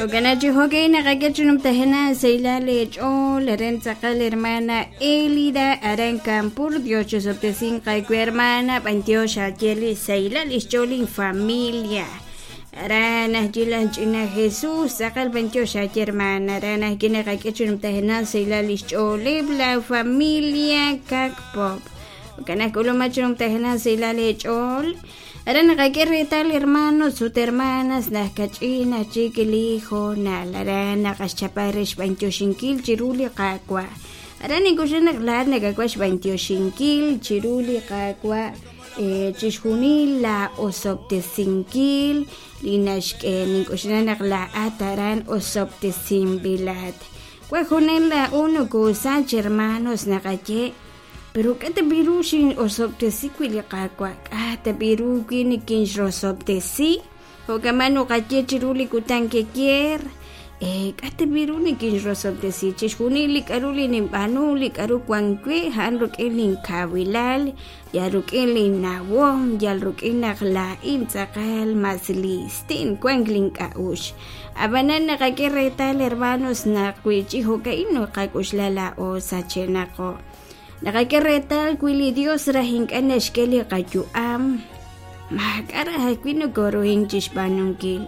Jo'kan chi jo'kan naqak'e chi numtajenaq sahilal eech'ool aran tz'aqal hermana Elida aran Campur Dios chisob'tesinq aawe hermana b'antiox aaye li sahilal lix ch'ool infamilia aran ajwi' laj ch'ina Jesús tz'aqal b'antiox aaye hermana aran ajwi' naqak'e chi numtajenaq sahilal lix ch'ooleb' la familia Cacpop jo'kan aj k'uluma chi numtajenaq sahilal eech'ool Aran naqak'e reetal hermanos ut hermanas naq kach'in aj chik li hoonal aran naqaxchapa re xb'antioxinkil chiru li Qaawa'. Aran nink'oxla naq laa'at nakawaj xb'antioxinkil chiru li Qaawa' chixjunil la osob'tesinkil li naxk'e. Nink'oxla naq laa'at aran osob'tesinb'ilat. Wan junel laa'o nokosach hermanos naqaye Pero k'a' ta b'i' ru xin'osob'tesi wi' li Qaawa'? K'a' ta b'i' ru wi nikinxrosob'tesi? Jo'kan nuqaye chiru li kutan keyer, k'a' ta b'i' ru nikinxrosob'tesi? Chixjunil li k'a'ru li ninb'aanu, li k'a'ru wan we, a'an rik'in linkawilal, yal rik'in linnawom, yal rik'in naq laa'in tz'aqal mas listin wank link'a'uxl. Ab'anan naqak'e reetal hermanos naq wi chi jo'ka'in naqak'oxla laa'o sachenaqo. Naqak'e reetal wi li Dios raj ink'a' naxk'e li qayu'am, maak'a' raj ajwi' nokoruhink chi xb'aanunkil.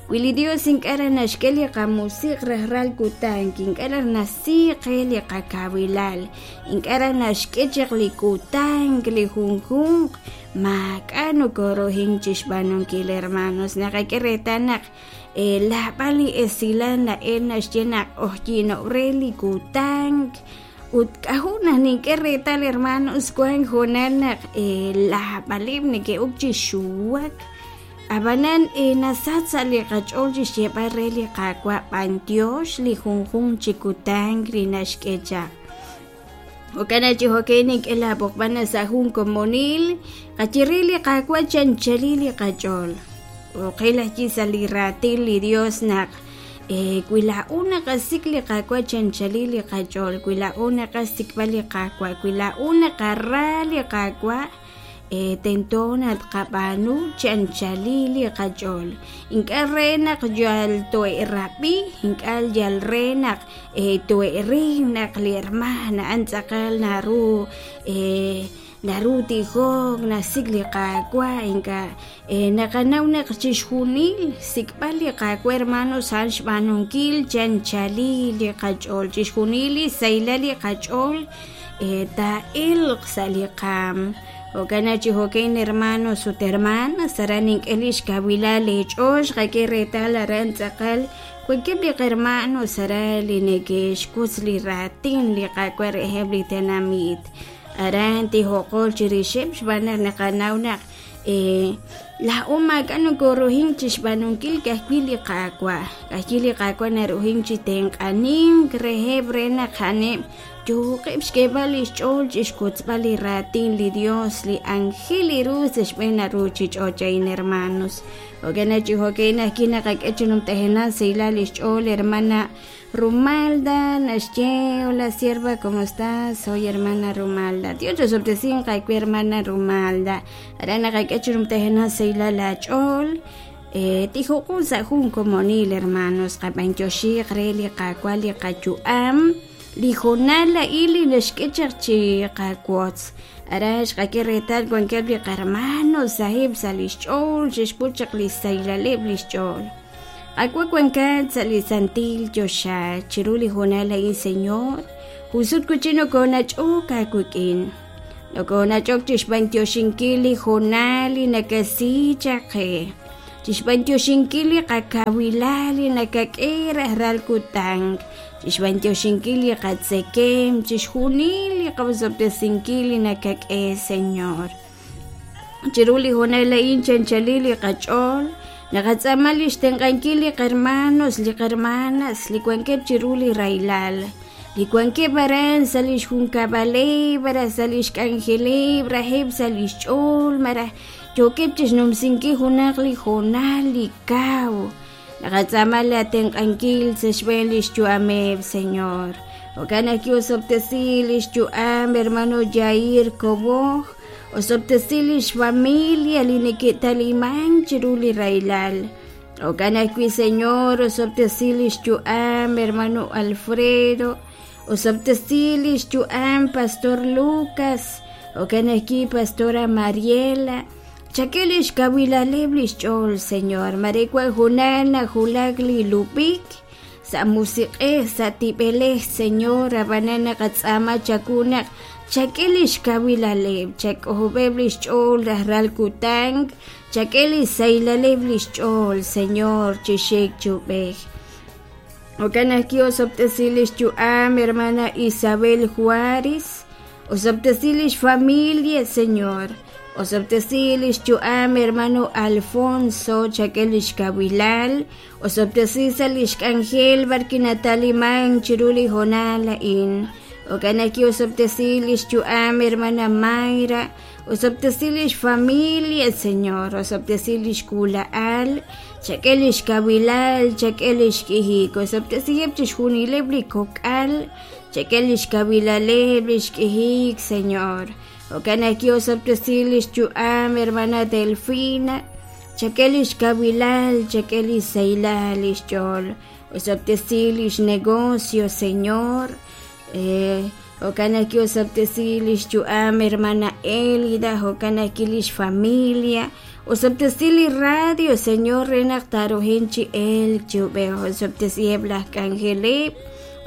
Wi li Dios ink'a' raj naxk'e li qamusiq' rajlal kutan, ink'a' raj nasi qe li qakawilal, ink'a' raj naxk'e chaq li kutan li junjunq, maak'a' nokoruhink chi xb'aanunkil hermanos. Naqak'e reetal naq Laab'al li esilal na'el naxye naq q'ojyino'k re li kutan ut k'ajo' naq nink'e reetal hermanos wank hoonal naq laab'aleb' neke'ok chi xuwak ab'anan nasach sa' li qach'ool chi xyeeb'al re li Qaawa' b'anyox li junjunq chi kutan li naxk'e chaq. Jo'kan chi jo'kan nink'e laab'oqb'al sa' jun komonil qaye re li Qaawa' chi anchalil li qach'ool. Oqil ajwi' sa' li raatin li Dios naq wi laa'o naqasik' li Qaawa' chi anchalil li qach'ool, wi laa'o naqasik'b'al li Qaawa', wi laa'o naqara li Qaawa', tento naq tqab'aanu chi anchalil li qach'ool. Ink'a' re naq yal toe'rab'i, ink'a' yal re naq toe'ril naq li hermaan a'an tz'aqal naru naru tijok, naxsik' li Qaawa', ink'a' naqanaw naq chixjunil xsik'b'al li Qaawa' hermanos a'an xb'aanunkil chi anchalil li qach'ool, chixjunil li xsahilal li qach'ool taa'elq sa' li qaam. Jo'kan naq chi jo'kan hermanos ut hermanas, aran nink'e lix kawilal eech'ool, xqak'e reetal aran tz'aqal wankeb' li qhermanos aran li neke'xwotz li raatin li Qaawa' reheb' li tenamit. Aran tijoqol chirixeb' xb'aan naq naqanaw naq laa'o maak'a' nokoruhink chi xb'aanunkil ka'ajwi' li Qaawa'. Ka'ajwi' li Qaawa' naruhink chi tenq'anink reheb' re naq a'aneb' yooqeb' xk'eeb'al li xch'ool chi xwotzb'al li raatin li Dios li anjel li ru sa' xb'een ruuchich'och' a'in hermanos. Jo'kan naq chi jo'kan ajwi' naqak'e chi numtajenaq sahilal li xch'ool hermana Rumalda naxye hola sierva ¿cómo estás? Soy hermana Rumalda. Dios chosob'tesinq aawe hermana Rumalda. Aran naqak'e chi numtajenaq sahilal aach'ool. Tijoqo sa' jun komonil hermanos qab'antioxiq re li Qaawa' li qayu'am li hoonal a'in li naxk'e chaq chi qawotz. Aran xqak'e reetal wankeb' li qarmanos saheb' sa' li xch'ool xe'xput chaq li xsahilaleb' li xch'ool. Qaawa' wankat sa' li santil choxa chiru li hoonal a'in Señor, jun sut wi' chik nokoonach'ok aawik'in. Nokoonach'ok chi xb'antioxinkil li hoonal li nakasi chaq qe, chi xb'antioxinkil li qakawilal li nakak'e rajlal kutan, chi xb'antioxinkil li qatzekemq, chixjunil li qosob'tesinkil li nakak'e, Señor. Chiru li hoonal a'in chanchalil li qach'ool, naqatz'aama li xtenq'ankil li qhermanos, li qhermanas li wankeb' chiru li rahilal, li wankeb' aran sa' li xjunkab'aleb', malaj sa' li xk'anjeleb', raheb' sa' li xch'ool, malaj yookeb' chixnumsinkil junaq li hoonal li kaw. Naqatz'aama la tenq'ankil sa' xb'een li xyu'ameb', Señor. Jo'kan naq ki'osob'tesi li xyu'am hermano Jair Koboj, osob'tesi li xfamilia li neke'talimank chiru li rahilal. Jo'kan ajwi' Señor osob'tesi li xyu'am hermano Alfredo, osob'tesi li xyu'am pastor Lucas, jo'kan ajwi' pastora Mariela. Chak'e li xkawilaleb' li xch'ool Señor, mare wan junaq najulak li lub'ik sa' musiq'ej, sa' tib'elej Señor, ab'anan naqatz'aama chawu naq chak'e li xkawilaleb', chak'ojob'eb' li xch'ool rajlal kutan, chak'e li xsahilaleb' li xch'ool Señor chi xik chi ub'ej. Jo'kan ajwi' osob'tesi li xyu'am hermana Isabel Juárez, osob'tesi li xfamilia Señor, osob'tesi li xyu'am hermano Alfonso, chak'e li xkawilal, osob'tesi sa' li xk'anjel b'arwi' natalimank chiru li hoonal a'in. Jo'kan ajwi' osob'tesi li xyu'am hermana Mayra, osob'tesi li xfamilia Señor, osob'tesi li xk'uula'al, chak'e li xkawilal, chak'e li xk'ijik, osob'tesiheb' chixjunileb' li kok'al, chak'e li xkawilaleb' li xk'ijik Señor. Jo'kan ajwi' osob'tesi li xyu'am hermana Delfina, chak'e li xkawilal, chak'e li xsahilal li xch'ool, osob'tesi li xnegocio Señor. Jo'kan ajwi' osob'tesi li xyu'am hermana Elida, jo'kan ajwi' li xfamilia, osob'tesi li radio Señor re naq taaruhin chi elk chi ub'ej, osob'tesiheb' laj k'anjeleb',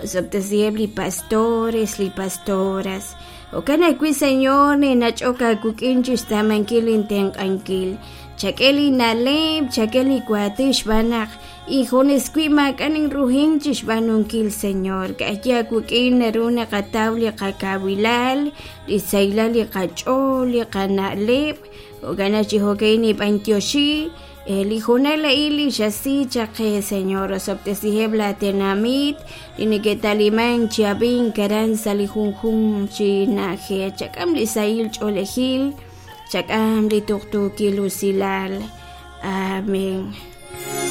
osob'tesiheb' li pastores, li pastoras. Jo'kan ajwi' Señor ninach'ok aawik'in chi xtz'aamankil intenq'ankil, chak'e li na'leb', chak'e li waatin xb'aan naq injunes wi' maak'a' ninruhin chi xb'aanunkil Señor, ka'ajwi' aawik'in naru naqataw li qakawilal, li xsahilal li qach'ool, li qana'leb', jo'kan naq chi jo'ka'in nib'antioxi li hoonal a'in li xasi chaq qe Señor, osob'tesiheb' laa tenamit li neke'talimank chi ab'ink aran sa' li junjunq chi na'ajej, chak'am li sahil ch'oolejil, chak'am li tuqtuukil usilal. Amén.